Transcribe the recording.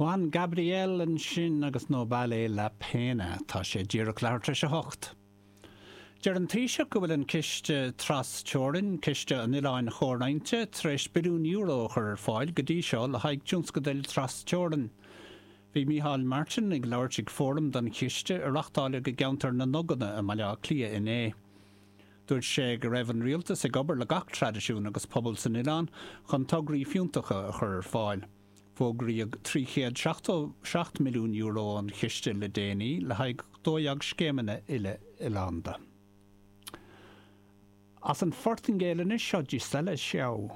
Juan Gabriel ansin agus No Vale La Pena. Tá sé díreach leathuair tar éis a hocht. Deir an Taoiseach go bhfuil an Ciste Tras-Teorainn, Ciste an Oileáin Chomhroinnte, tar éis billiún euro a chur ar fáil go dtí seo le haghaidh tionscadail tras-teorann. Bhí Micheál Martin ag labhairt ag fóram don chiste a reachtáileadh i gceantar na nDuganna i mBaile Átha Cliath inné. Dúirt sé go raibh an rialtas ag obair le gach traidisiún agus pobal san oileán chun tograí fiúntacha a chur ar fáil. Fógraíodh €377 milliún ón chiste le déanaí le haghaidh 12 scéimeanna uile-oileánda. As an Phortaingéil anois, seo Gisela Xiao.